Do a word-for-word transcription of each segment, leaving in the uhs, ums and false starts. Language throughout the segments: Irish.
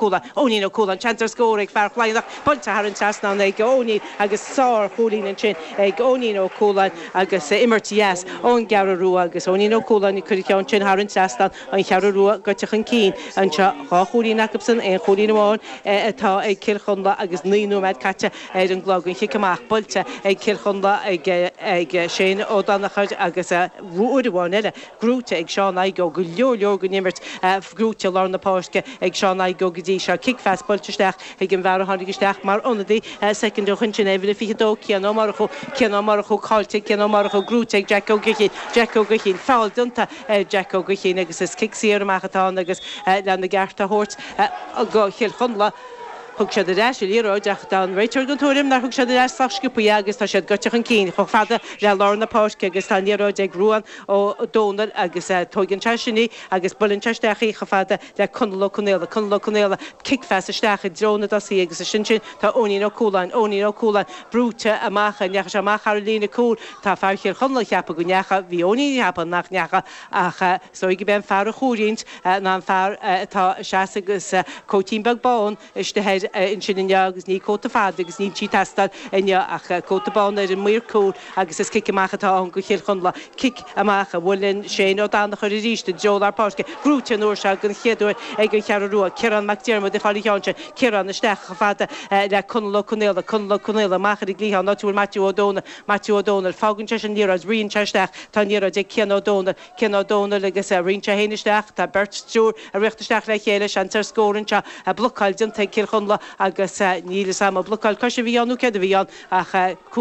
Cualáin, Eoinín Ó Cualáin, seans ar scór ag fear Chladhnach, buailte thar an trasnán ag Eoinín agus sárchúilín ansin ag Eoinín Ó Cualáin agus imirt dheas ón gCeathrú Rua agus Eoinín Ó Cualáin ag cur an cheann sin thar an trasnán, an Cheathrú Rua gaibhte chun cinn anseo, dhá chúilín acusan, aon chúilín amháin atá ag Cill Chonla agus naoi nóiméad caite ar an gclog, an chic amach buailte ag Cill Chonla ag Shane Ó Danachair agus uair amháin eile gnóite ag Seán Igoe, go leor leor den imirt gnóite i lár na páirce ag Seán Igoe go dtí seo. Cic phas buailte isteach ag an bhfear a tháinig isteach mar ionadaí soicind ó shin, sin uimhir a fiche dó, Cian Ó Murchú. Cian Ó Murchú caillte ag Cian Ó Murchú, gnóite ag Jack Ó Guithín. Jack Ó Guithín, feall déanta ar Jack Ó Guithín agus is cic saor amach atá ann agus lena gceart a thabhairt go Chill Chonla. Thug siad ar ais an liathróid ach tá an réiteoir den tuairim nár thug siad ar ais sách sciobtha í agus tá siad gaibhte chun cinn chomh fada le lár na páirce agus tá an liathróid ag Ruán Ó Dónaill agus tóigeann sé sin í agus buaileann sé isteach í chomh fada le Conall Ó Conaola. Conall Ó Conaola, cic phas isteach i dtreo na dtosaithe agus ansin sin tá Eoinín Ó Cualáin, Eoinín Ó Cualáin brúite amach, an ndeachaigh sé amach thar an líne cúil? Tá fear Chill Chonla ag ceapadh go ndeachaigh, bhí Eoinín ag ceapadh nach ndeachaigh ach is dóigh gurb é an fear a chomhroinnt ná an fear atá ag seasamh agus cóitín beag bán istigh air ansin inniu agus ní cóta fada agus níl sí ag teastáil inniu ach cóta bán ar an maor cúil agus is cic amach atá ann go Chill Chonla. Cic amach a bhuaileann Shane Ó Danachair arís i dtreo lár páirce. Gnóite an uair seo den chéad uair ag an Cheathrú Rua. Ciarán Mac Diarmada ag fáil an cheann sin. Ciarán isteach chomh fada le Conall Ó Conaola. Conall Ó Conaola amach ar an gcliathán áit a bhfuil Maitiú Ó Dónaill. Maitiú Ó Dónaill. Fágann sé sin an liathróid. Ritheann sé isteach. Tá an liathróid ag Cian Ó Dónaill. Cian Ó Dónaill agus ritheann sé féin isteach. Tá beirt, triúr ag rith isteach le chéile. Seans ar scór anseo. Blocáil déanta ag Cill Chonla agus níl fhios a'm an blocáil coise a bhí ann nó céard a bhí ann ach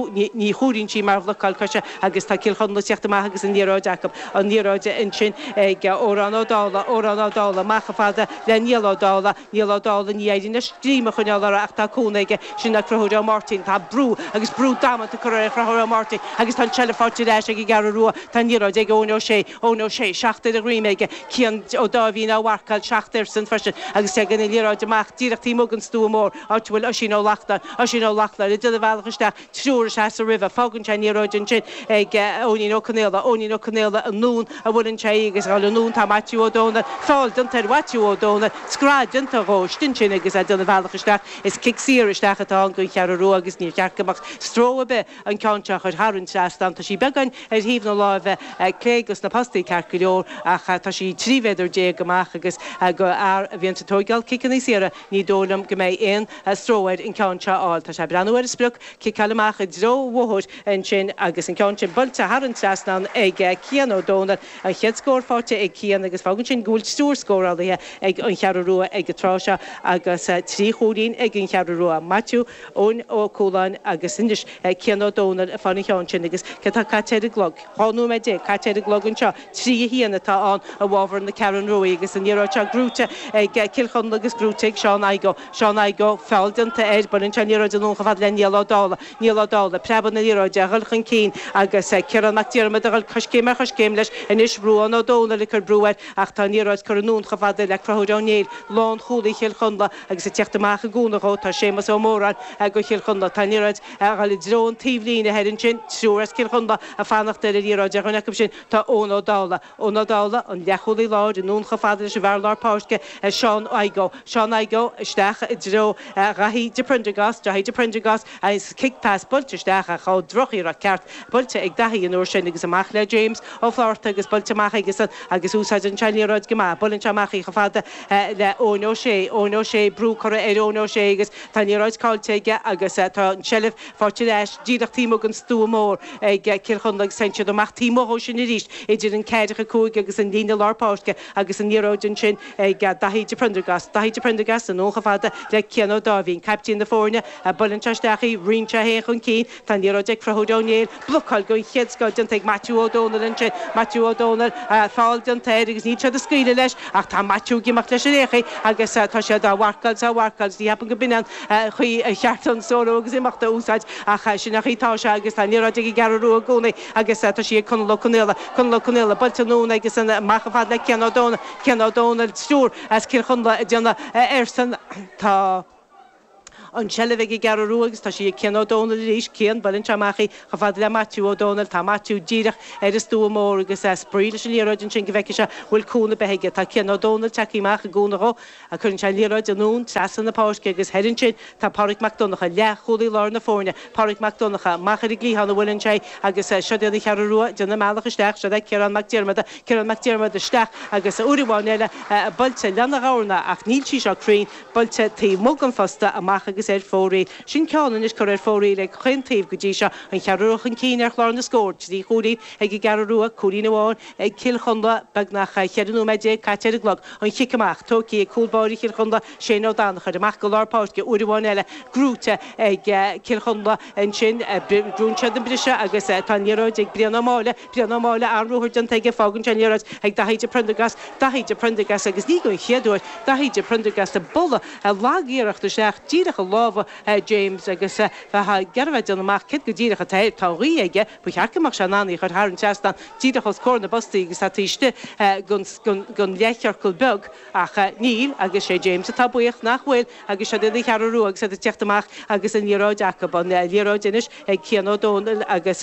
ní chomhaireann sí mar bhlocáil coise agus tá Cill Chonla ag teacht amach agus an liathróid acu. An liathróid ansin ag Odhrán Ó Dálaigh, Odhrán Ó Dálaigh amach chomh fada le Niall Ó Dálaigh, Niall Ó Dálaigh, ní éiríonn leis greim a choinneáil uirthi ach tá cúnamh aige, sin é Conchúr Ó Máirtín. Tá brú agus brú damanta curtha ar Chonchúr Ó Máirtín agus tá an tseilbh faighte ar ais ag an gCeathrú Rua. Tá an liathróid ag Eoin Ó Sé, Eoin Ó Sé, seacht ar a dhroim aige, Cian Ó Dáimhín á mharcáil, seacht airsean freisin agus tagann an liathróid amach díreach taobh amuigh den stua mór, áit a bhfuil Oisín Ó Lachtnáin, Oisín Ó Lachtnáin, ag déanamh a bhealach isteach, triúr ag seasamh roimhe, fágann sé an liathróid ansin ag Eoinín Ó Conaola, Eoinín Ó Conaola anonn a bhuaileann sé í agus ag dul anonn tá Maitiú Ó Dónaill, feall déanta ar Mhaitiú Ó Dónaill, scread déanta dhó istigh ansin agus é ag déanamh a bhealach isteach, is cic saor isteach atá ann don Cheathrú Rua agus níor cheart go mbeadh stró ar bith an ceann seo a chur thar an trasnán. Tá sí beagán ar thaobh na láimhe clé dos na postaí ceart go leor ach tá sí trí mhéadar déag amach agus go fhear a bhíonns ag tóigeáil ciceanna saora ní dóigh liom go mbeidh aon stró air an ceann seo a fháil. Tá sé ag breathnú ar a sprioc, ciceáil amach i dtreo an bhóthair ansin agus an ceann sin buailte thar an trasnán ag Cian Ó Dónaill. An chéad scór faighte ag Cian agus fágann sin go bhfuil triúr scórálaithe ag an Cheathrú Rua ag an tráth seo agus trí chúilín ag an Cheathrú Rua, Maitiú, Eoin Ó Cualáin agus anois Cian Ó Dónaill ag fáil an cheann sin agus céard atá caite ar an gclog? Dhá nóiméad déag caite ar an gclog anseo. Trí a haon atá ann i bhfabhar na Ceathrún Ruaidh agus an liathróid seo gnóite ag Cill Chonla agus gnóite ag Seán Igoe. Seán Igoe, feall déanta air, buaileann sé an liathróid anonn chomh fada le Niall Ó Dálaigh. Niall Ó Dálaigh, preabann an liathróid a dhul chun cinn agus Ciarán Mac Diarmada a dhul coiscéim ar choiscéim leis. Anois Ruán Ó Dónaill ag cur brú air ach tá an liathróid curtha anonn chomh fada le Conchúr Ó Néill, lánchúlaí Chill Chonla agus ag teacht amach i gcúnamh dhó tá Séamus Ó Móráin go Chill Chonla. Tá an liathróid a dhul i dtreo an taobhlíne thoir ansin, triúr as Cill Chonla ag fanacht ar an liathróid. Ar dhuine acu sin tá Eoin Ó Dálaigh. Eoin Ó Dálaigh, an leathchúlaí láir, anonn chomh fada leis an bhfear lár páirce, Seán Igoe. Seán Igoe isteach i dtreo Dhaithí de Prendergast, Daithí de Prendergast agus cic pas buailte isteach ach ó drochiarracht ceart buailte ag Daithí an uair sin agus amach le James Ó Flatharta agus buailte amach aigesan agus úsáideann sé an liathróid go maith. Buaileann sé amach í chomh fada le Eoin Ó Sé, Eoin Ó Sé, brú curtha ar Eoin Ó Sé agus tá an liathróid caillte aige agus tá an tseilbh faighte ar ais díreach taobh amuigh den stua mór ag Cill Chonla agus téann siad amach taobh amuigh dhó sin arís idir an ceathracha cúig agus an líne lár páirce agus an liathróid ansin ag Daithí de Prendergast. Daithí de Prendergast anonn chomh fada le Cian Ó Dáimhín, caiptín na foirne. Buaileann sé isteach í, ritheann sé féin chun cinn. Tá an liathróid ag Conchúr Ó Néill. Blocáil den chéad scoth déanta ag Maitiú Ó Dónaill ansin. Maitiú Ó Dónaill, feall déanta air agus níl siad ag scaoileadh leis ach tá Maitiú ag imeacht leis ar aon chaoi agus tá siad á mharcáil is á mharcáil agus ní cheapaim go b'in an chaoi ar cheart an sárú agus imeacht a úsáid ach sin an chaoi atá sé agus tá an liathróid ag an gCeathrú Rua i gcónaí agus tá sí ag Conall Ó Conaola. Conall Ó Conaola, buailte anonn agus amach chomh fada le Cian Ó Dónaill. Cian Ó Dónaill, triúr as Cill Chonla ag déanamh airsean. Tá. An tseilbh ag an gCeathrú Rua agus tá sí ag Cian Ó Dónaill arís. Cian, buaileann sé amach í chomh fada le Maitiú Ó Dónaill. Tá Maitiú díreach ar an stua mór agus é ag spraoi leis an liathróid ansin go bhfeicfidh sé an bhfuil cúnamh ar bith aige. Tá Cian Ó Dónaill tagtha amach i gcúnamh dhó. Cuireann sé an liathróid anonn trasna na páirce agus thoir ansin tá Pádraig Mac Donncha, leathchúlaí láir na foirne. Pádraig Mac Donncha amach ar an gcliathán a bhuaileann sé agus siod iad an Cheathrú Rua ag déanamh a mbealach isteach. Siod é Ciarán Mac Diarmada. Ciarán Mac Diarmada isteach agus uair amháin eile buailte lena dhorna ach níl sí seo cruinn, buailte taobh amuigh den phosta, amach agus ar fóraoil. Sin ceann anois curtha ar fóraoil ag chaon taobh go dtí seo, an Cheathrú Rua chun cinn ar chlár na scór, trí chúilín ag an gCeathrú Rua, cúilín amháin ag Cill Chonla, beagnach cheithre nóiméad déag caite ar an gclog. An chic amach tógtha ag cúl báire Chill Chonla, Shane Ó Danachair, amach go lár páirce uair amháin eile, gnóite ag Cill Chonla ansin, brúnn siad an briseadh agus tá an liathróid ag Brian Ó Máille, Brian Ó Máille, an-ruathar déanta aige, fágann sé an liathróid ag Daithí de Prendergast, Daithí de Prendergast agus ní don chéad uair, Daithí de Prendergast ag bualadh lag-iarracht isteach díreach i lámha James agus bheifeá ag iarraidh a bheith ag déanamh amach céard go díreach atá air. Tá an ghaoth aige, ba cheart go mbeadh sé in ann í a chur thar an trasnán díreach os comhair na bpostaí agus tá taobh istigh den leathchiorcal beag ach níl agus sé James atá buíoch nach bhfuil agus siod iad an Cheathrú Rua agus iad ag teacht amach agus an liathróid acu. An liathróid anois ag Cian Ó Dónaill agus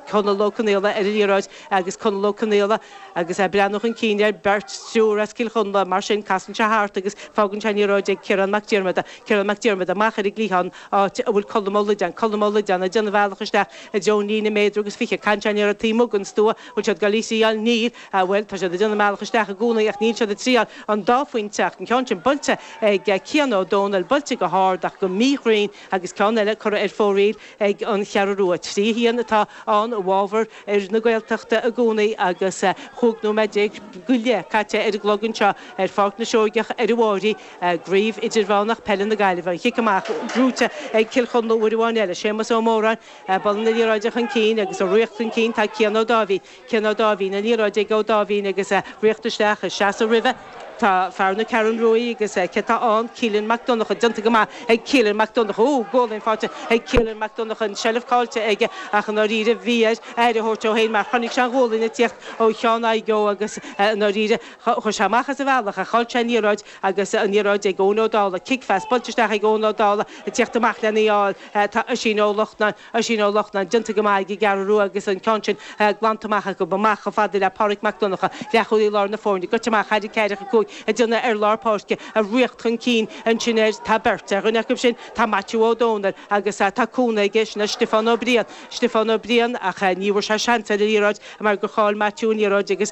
Conall Ó Conaola ar an liathróid agus Conall Ó Conaola agus é ag breathnú chun cinn ar beirt, triúr as Cill Chonla, mar sin casann sé thart agus fágann sé an liathróid ag Ciarán Mac Diarmada. Ciarán Mac Diarmada amach ar an gcliathán, áit a bhfuil Colm Ó Loideáin. Colm Ó Loideáin ag déanamh a bhealach isteach i dtreo an líne méadar agus fiche. Caitheann sé an liathróid taobh amuigh den stua. Bhfuil siad ag dul í a thriail? Níl. Bhuel, tá siad ag déanamh a mbealach isteach i gcónaí ach níl siad ag triail an dá phointe ach an ceann sin buailte ag Cian Ó Dónaill, buailte go hard ach go míchruinn agus ceann eile curtha ar fóraoil ag an Cheathrú Rua. Trí a haon atá ann i bhfabhar fhir na Gaeltachta i gcónaí agus chúig nóiméad déag go leith caite ar an gclog anseo ar Pháirc na Seoigeach ar an bhFairche, i gCraobh Idirmheánach Peile na Gaillimhe. An chic amach gnóite ag Cill Chonla uair amháin eile. Séamus Ó Móráin, bualadh na liathróide chun cinn agus ag ritheacht chun cinn tá Cian Ó Dáimhín. Cian Ó Dáimhín, an liathróid ag Ó Dáimhín agus ag ritheacht isteach, ag seasamh roimhe tá fear na Ceathrún Ruaidh agus cé tá ann? Keelan Mac Donncha. Déanta go maith ag Keelan Mac Donncha. Ó, gualainn faighte ag Keelan Mac Donncha, an tseilbh caillte aige ach i ndáiríre bhí air aire a thabhairt dó féin mar chonaic sé an ghualainn ag tíocht ó Sheán Fhaigh agus i ndáiríre chuir sé amach as a bhealach ach chaill sé an liathróid agus an liathróid ag Eoin Ó Dálaigh. Cic phas buailte isteach ag Eoin Ó Dálaigh ag tíocht amach lena fháil. Tá Oisín Ó Lochnáin, Oisín Ó Lochnáin, déanta go maith ag an gCeathrú Rua agus an ceann sin glanta amach acu, amach chomh fada le Páraic Mac Donncha, leathchúlaí láir na foirne, goite amach thar a ceathracha cúig ag déanamh ar lár páirce, ag ritheacht chun cinn ansin air tá beirt. Ar dhuine acu sin tá Maitiú Ó Dónaill agus tá cúnamh aige, sin é Stiofán Ó Briain, Stiofán Ó Briain, ach ní bhfuair sé seans ar an liathróid mar gur chaill Maitiú an liathróid agus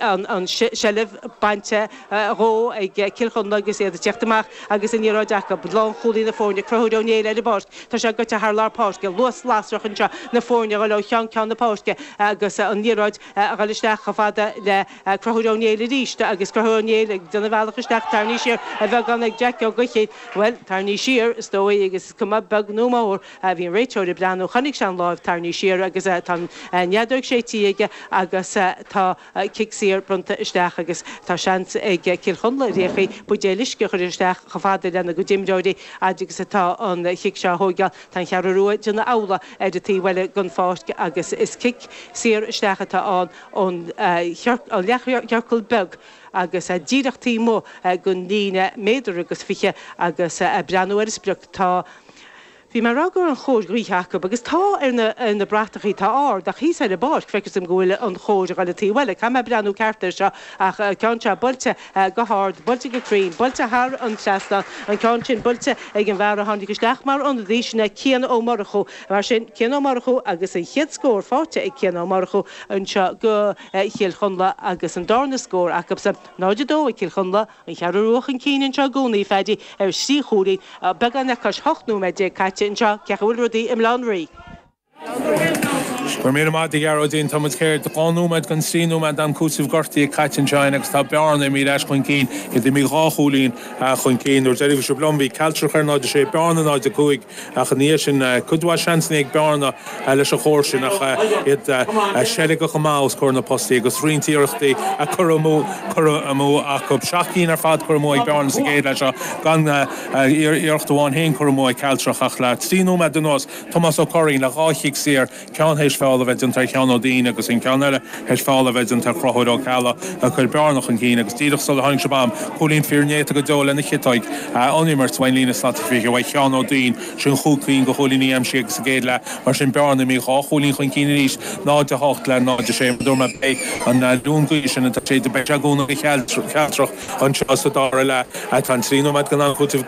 an tseilbh bainte dhó ag Cill Chonla agus iad ag tíocht amach agus an liathróid acu. Lánchúlaí na foirne, Conchúr Ó Néill ar an bpáirc. Tá sé goite thar lár páirce. Luas lasrach anseo na foirne a dhul ó cheann ceann na páirce agus an liathróid a dhul isteach chomh fada le Conchúr Ó Néill arís agus Conchúr Ó Néill ag déanamh a bhealach isteach tarraingthe siar a bheagán ag Jack Ó Gaoithín. Bhuel, tarraingthe siar, is dóigh, agus is cuma beag nó mór, bhí an réiteoir ag breathnú, chonaic sé an láimh tarraingthe siar agus tá an fheadóg séidte aige agus tá cic saor bronnta isteach agus tá seans ag Cill Chonla ar aon chaoi buidéal uisce a chur isteach chomh fada lena gcuid imreoirí fhad agus atá an chic seo á thóigeáil. Tá an Cheathrú Rua ag déanamh amhlaidh ar an taobh eile den pháirc agus is cic saor isteach atá ann ón leathchiorcal beag agus díreach taobh amuigh den líne méadar agus fiche agus ag breathnú ar an sprioc tá Bhí mé ag rá go raibh an chóir gaoithe acu, agus tá ar na ar na bratachaí, tá ard, ach thíos ar an bpáirc, feictear dom go bhfuil an chóir ag dul an taobh eile. Caithfidh mé breathnú ceart air seo, ach an ceann seo buailte go hard, buailte go cruinn, buailte thar an trasnán, an ceann sin buailte ag an bhfear a tháinig isteach mar ionadaí, sin é Cian Ó Murchú. Mar sin, Cian Ó Murchú agus an chéad scór faighte ag Cian Ó Murchú anseo do Chill Chonla agus an darna scór acusan, náid a dó ag Cill Chonla, An Cheathrú Rua chun cinn anseo i gcónaí, Phaddy, ar thrí chúilín, beagán le cois hocht nóiméad déag caite anseo, cén chaoi a bhfuil rudaí i mBaile Átha an Rí. Go raibh míle maith agat a Ghearóidín. Tá muid céard, dhá nóiméad den trí nóiméad d'am cúitimh gortaithe caite anseo againn agus tá Bearna imithe ar ais chun cinn, iad imithe dhá chúilín chun cinn. Nuair a bhí sibh liom bhí Cealtrach ar náid a sé, Bearna náid a cúig ach ina dhiaidh sin cuid mhaith seansanna ag Bearna leis an chóir sin ach iad seilgeach go maith os comhair na postaí agus roinnt iarrachtaí curtha amú curtha amú acu. Seacht gcinn ar fad curtha amú ag Bearna sa gcéad leath seo gan iarracht amháin féin curtha amú ag Cealtrach ach le trí nóiméad anuas Tomás Ó Curraoin le dhá chic saor, ceann théis feall a bheith déanta ar Sheán Ó Duinn agus an ceann eile théis feall a bheith déanta ar Chonchúr Ó Ceallaigh a chuir bearna chun cinn agus díreach sular tháinig sibh am cúilín fíornéata go deo lena chiotóig an imirt bhain líne slat fiche uaidh Sheán Ó Duinn sin chúig cinn de chúilíní aimsithe agus sa gcéad leath mar sin bearna imithe dhá chúilín chun cinn arís náid a hocht le náid a sé dúirt mé beidh an liú gaoithe sin atá sé beidh sé ag go cealtrach anseo sa dara leath atá an trí nóiméad den am cúitimh